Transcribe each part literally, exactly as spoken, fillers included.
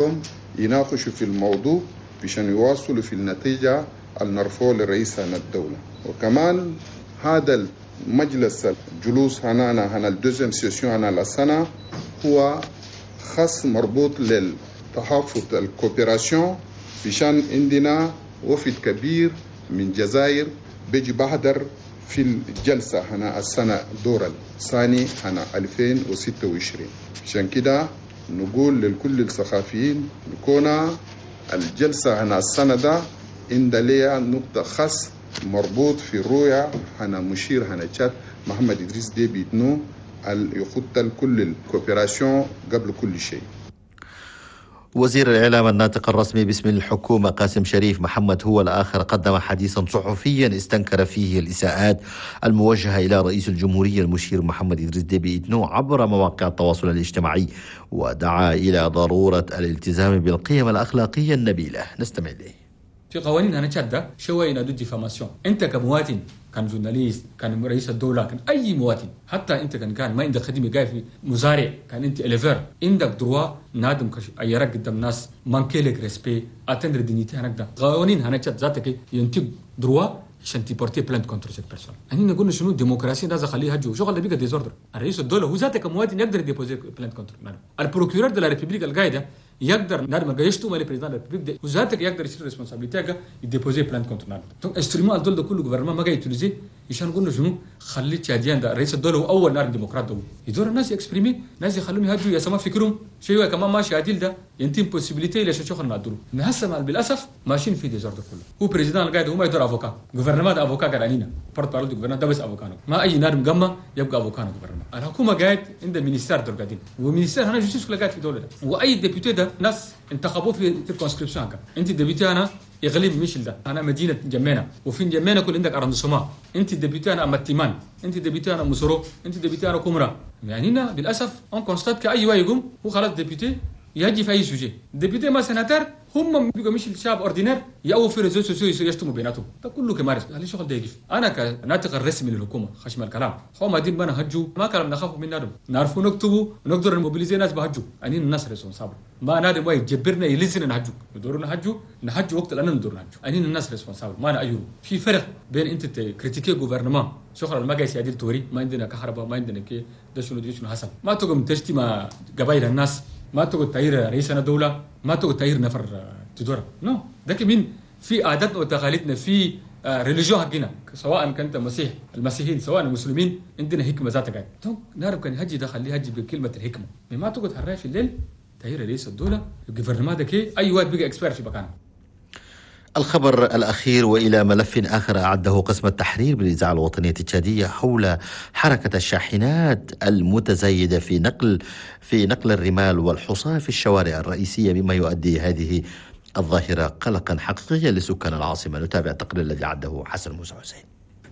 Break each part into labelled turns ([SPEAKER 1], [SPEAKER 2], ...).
[SPEAKER 1] يوم يناقشوا في الموضوع عشان يواصلوا في النتيجة المرفوع لرئيس الدولة. وكمان هذا المجلس الجلوس هنا هنا ال deuxième session هنا السنة هو خاص مربوط للتحفظ ال coopération، عشان عندنا وفد كبير من الجزائر بيجي بحضر في الجلسة هنا السنة دور الثاني هنا ألفين وستة وعشرين. عشان كده نقول لكل الصحفيين نكون الجلسة هنا السنة ده عند ليها نقطة خاص مربوط في الرؤية هنا مشير هنا تشاد محمد إدريس ديبي إتنو يخط كل ال coopération قبل كل شيء.
[SPEAKER 2] وزير الإعلام الناطق الرسمي باسم الحكومة قاسم شريف محمد هو الآخر قدم حديثا صحفيا استنكر فيه الإساءات الموجهة إلى رئيس الجمهورية المشير محمد إدريس ديبي إتنو عبر مواقع التواصل الاجتماعي، ودعا إلى ضرورة الالتزام بالقيم الأخلاقية النبيلة. نستمع إليه.
[SPEAKER 3] في قوانين هنا تشاد شوية ينادوا diffamation. انت كمواطن، كان journaliste، كان رئيس الدوله، كان اي مواطن، حتى انت كان كان ما عندك خدمه، قاعد في مزارع، كان انت éleveur، عندك droit نادم عيرك قدام ناس، manquer لك respect، atteindre dignité هناك. ده قوانين هنا تشاد ذاتك ينطيك droit عشان ت porter plainte contre cette personne. يعني نقول شنو؟ ديمقراطية ده خليها جو شغل اللي بيبقى désordre. الرئيس الدولة هو ذاتك كمواطن يقدر déposer plainte contre ال procureur de la République القايده، يقدر نادم يشتم le président République وذاتك يقدر يشيل responsabilité، ي déposer plainte contre نادم. donc instrument الدول ده كله gouvernement ما قاعد utiliser. عشان نقول شنو؟ خلي تشاديان ده رئيس الدولة هو اول نار ديمقراط ده يدور الناس ي exprimer، ناس يخلوهم يهجوا يا سما فكرهم شيء كمان ماشي عديل. ده ينتم possibilité اللي شغل نادرو هسه بالاسف ماشيين في désordre كله. هو président القاعد هو ما يدور avocat، gouvernement ده avocat قاعد علينا، porte-parole du gouvernement ده بس avocat، ما اي نار مقمه يبقى avocat gouvernement. الحكومة قاعد عند ministère دول قاعدين و ministère هنا justice كله قاعد في دولة ده، واي député ده ناس انتخبوه في circonscription. انت député هنا اقليم ميشيل ده هنا مدينة انجمينا، وفي انجمينا كل عندك arrondissement. انت député هنا متيمان، انت député هنا موسورو، انت député هنا كومرا. يعني هنا للاسف on constate كاي واحد يقوم هو خلاص député يجي في اي sujet، député ما سناتر، هم بيبقوا مش الشعب ordinaire يأو في réseaux sociaux يشتموا بيناتهم. ده كله كمارس. هل الشغل ده يقف؟ انا كناطق الرسمي للحكومة خشم الكلام هو ما دين ما نهجوا، ما كلام نخافوا من نادم، نعرفوا نكتبوا ونقدر ن mobiliser ناس بهجوا. يعني الناس responsables، ما نادم ما يجبرنا يلزنا نهجوا، ندور نهجوا نهجوا وقت لأننا ندور نهجوا. يعني الناس responsables ما أيرو. في فرق بين انت critiquer gouvernement شغل ما قاعد يدير توري ما عندنا كهرباء، ما عندنا كي ده شنو ده شنو حصل، ما تقوم تشتي مع قبائل الناس، ما تقول تعير رئيسنا دولة، ما تقول تعير نفر تدور non. ده من في عاداتنا وتقاليدنا، في religion حقنا، سواء كنت مسيح المسيحيين سواء المسلمين، عندنا حكمه ذاتك قاعد. donc نعرف كان هجي ده خليه هجي بكلمه الحكمه. ما تقعد هالراي في الليل تعير رئيس الدوله، ال gouvernement ده كي اي واحد بقى expert في مكانه.
[SPEAKER 2] الخبر الأخير، وإلى ملف آخر أعده قسم التحرير بالإذاعة الوطنية التشادية حول حركة الشاحنات المتزايدة في نقل في نقل الرمال والحصى في الشوارع الرئيسية، بما يؤدي هذه الظاهرة قلقا حقيقيا لسكان العاصمة. نتابع التقرير الذي أعده حسن موسى حسين.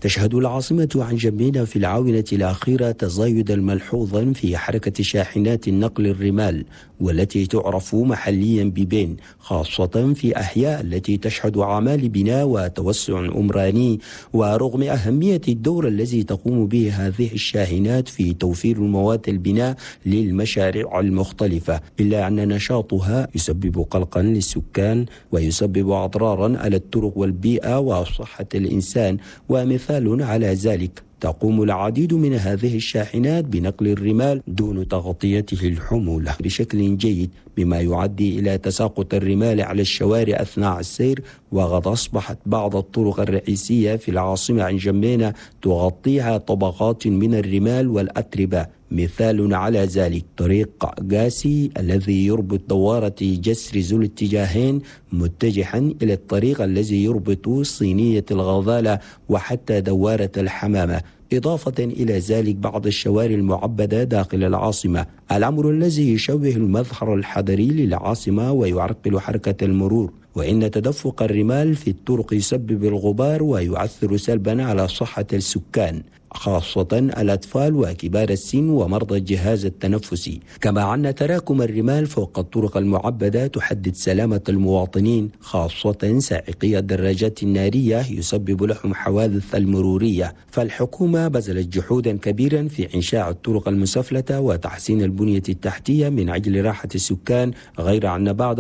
[SPEAKER 4] تشهد العاصمة انجمينا في الآونة الأخيرة تزايدا ملحوظا في حركة شاحنات النقل الرمال والتي تعرف محليا ب bennes، خاصة في أحياء التي تشهد أعمال بناء وتوسع عمراني. ورغم أهمية الدور الذي تقوم به هذه الشاحنات في توفير مواد البناء للمشاريع المختلفة، إلا أن نشاطها يسبب قلقا للسكان ويسبب أضرارا على الطرق والبيئة وصحة الإنسان. ومثال على ذلك، تقوم العديد من هذه الشاحنات بنقل الرمال دون تغطيته الحمولة بشكل جيد، بما يؤدي إلى تساقط الرمال على الشوارع أثناء السير. وقد أصبحت بعض الطرق الرئيسية في العاصمة انجمينا تغطيها طبقات من الرمال والأتربة. مثال على ذلك طريق قاسي الذي يربط دوارة جسر ذو الاتجاهين متجها إلى الطريق الذي يربط صينية الغزالة وحتى دوارة الحمامة. إضافة إلى ذلك بعض الشوارع المعبدة داخل العاصمة، الأمر الذي يشوه المظهر الحضري للعاصمة ويعرقل حركة المرور. وإن تدفق الرمال في الطرق يسبب الغبار ويؤثر سلبا على صحة السكان. خاصة الأطفال وكبار السن ومرضى الجهاز التنفسي. كما أن تراكم الرمال فوق الطرق المعبدة تهدد سلامة المواطنين، خاصة سائقي الدراجات النارية، يسبب لهم حوادث المرورية. فالحكومة بذلت جهودا كبيرا في إنشاء الطرق المسفلتة وتحسين البنية التحتية من أجل راحة السكان، غير أن بعض